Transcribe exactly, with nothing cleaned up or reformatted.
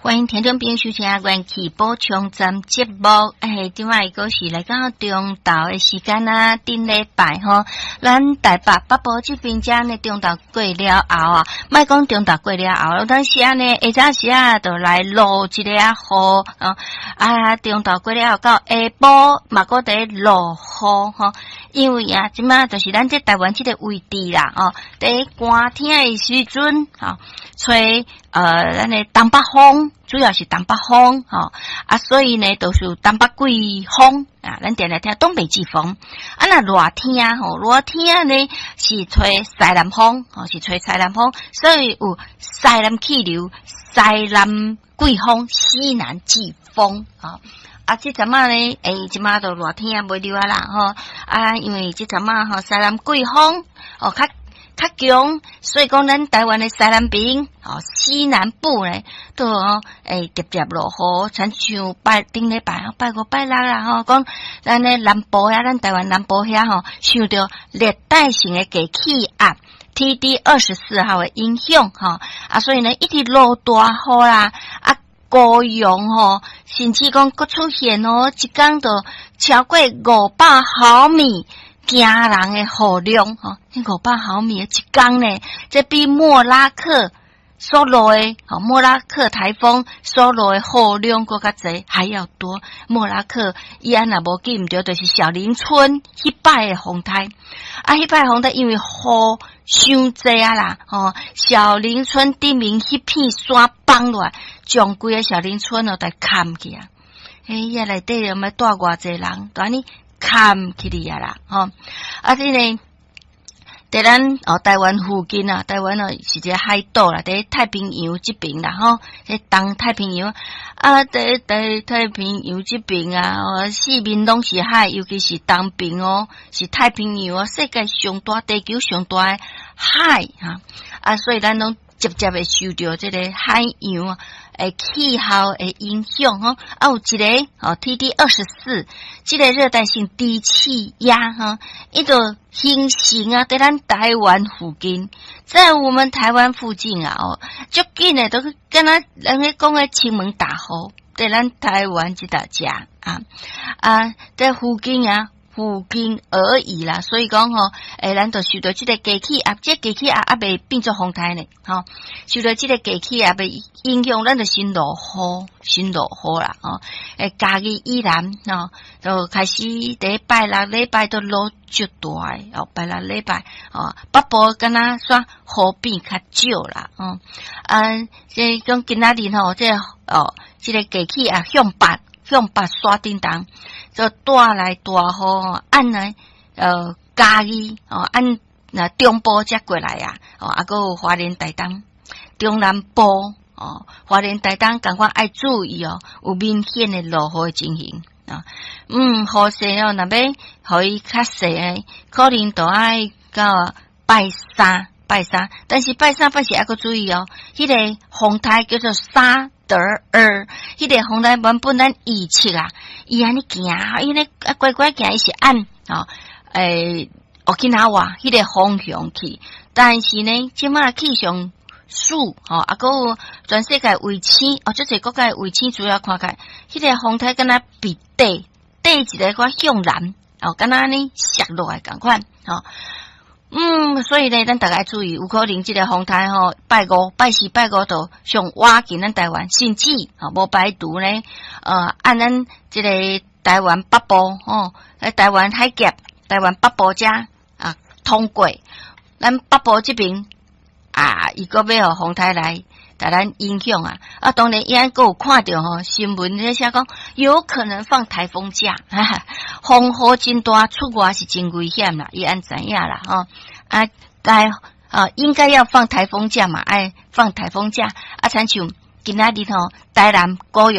歡迎聽眾朋友收聽《元氣補充站》節目。哎，這擺閣是來到中晝的時間啊，頂禮拜吼，咱台北北部這邊遮呢，中晝過了後啊，莫講中晝過了後，當時啊呢，下早時啊，就來落一个啊雨啊，啊，中晝過了後到下晡嘛，閣佇落雨吼，因為啊，這擺就是咱這台灣這个位置啦，哦，佇寒天的時陣，吼，吹呃，咱的東北風。主要是東北風，吼啊，所以呢，都是東北季風啊。咱定定聽東北季風。啊，若熱天吼，熱天呢是吹西南風，吼是吹西南風，所以有西南氣流、西南季風、西南季風，吼。啊，這陣仔呢，欸，這擺都熱天袂著啊啦，吼啊，因為這陣仔吼西南季風哦較較強，所以講咱台灣的西南邊，吼西南部呢，都哦，會直接落雨，親像拜頂禮拜，拜五拜六啦，吼，講咱的南部遐，咱台灣南部遐吼，受著熱帶性的低氣壓 T D 二十四號的影響，吼啊，所以呢，一直落大雨啦，啊，高雄吼，甚至講閣出現哦，一工就超過五百毫米。驚人的雨量，吼，五百毫米一工呢，這比莫拉克所落的，吼，莫拉克颱風所落的雨量閣較濟，還要多。莫拉克伊按若無記毋著，就是小林村彼擺的風颱，啊，彼擺風颱因為雨傷濟啊啦，吼，小林村頂面彼片山崩落來，將規个小林村哦，都崁去啊！哎呀，內底有欲蹛偌濟人，都按呢崁起去啊啦，吼！啊，這个佇咱哦台灣附近啊，台灣哦是一个海島啦，佇太平洋這邊啦，吼，這東太平洋啊，佇佇太平洋這邊啊，哦，四面攏是海，尤其是東邊哦，是太平洋啊，世界上大、地球上大的海哈，啊，所以咱攏直接會受著這个海洋的氣候的影響吼，啊，有一个哦，T D 二十四，這个熱帶性低氣壓哈，伊就形成啊，佇咱台灣附近，在我們台灣附近啊，哦，足緊的都敢若人咧講的金門大雨，佇咱台灣這搭遮啊啊，在附近啊。附近而已啦，所以講吼，欸，咱就受著這个低氣壓，這個低氣壓猶未變做風颱呢，吼，受著這個低氣壓的影響，咱就先落雨，先落雨啦，吼，欸，嘉義以南，吼，就開始佇拜六禮拜都落足大的，哦，拜六禮拜，哦，北部敢若煞雨變較少啦，哦，啊，這講今仔日吼，這個哦，這个低氣壓向北。向北徙振動，就帶來大雨，按呢，呃，嘉義哦，按那中部才過來啊，哦，啊，閣有花蓮台東、中南部哦，花蓮台東仝款愛注意哦，有明顯的落雨的情形啊。嗯，雨勢哦，若欲予伊較細的，可能都愛到拜三、拜三，但是拜三拜四猶閣注意哦，彼個風颱叫做沙德爾，彼個風颱原本咱預測啊，伊按呢行，伊呢啊乖乖行，伊是按哦，欸，沖繩彼個方向去，但是呢，這擺氣象署吼，啊，閣有全世界衛星哦，足濟國家衛星資料看起來，彼個風颱敢若被綴綴一个較向南哦，敢若按呢削落來仝款吼。嗯，所以呢，咱逐家注意，有可能這个風颱吼，拜五、拜四、拜五就上倚近咱台灣，甚至吼無排除呢，呃，按咱這个台灣北部吼，喺台灣海峽、台灣北部遮啊通過，咱北部這邊啊，伊閣欲予風颱來共咱影響啊！啊，當然伊還閣有看著吼新聞咧寫講有可能放颱風假，哈哈，風雨真大，出外是真危險啦，伊按知影啦吼啊，該啊應該要放颱風假嘛，愛放颱風假啊，親像今仔日吼台南高雄。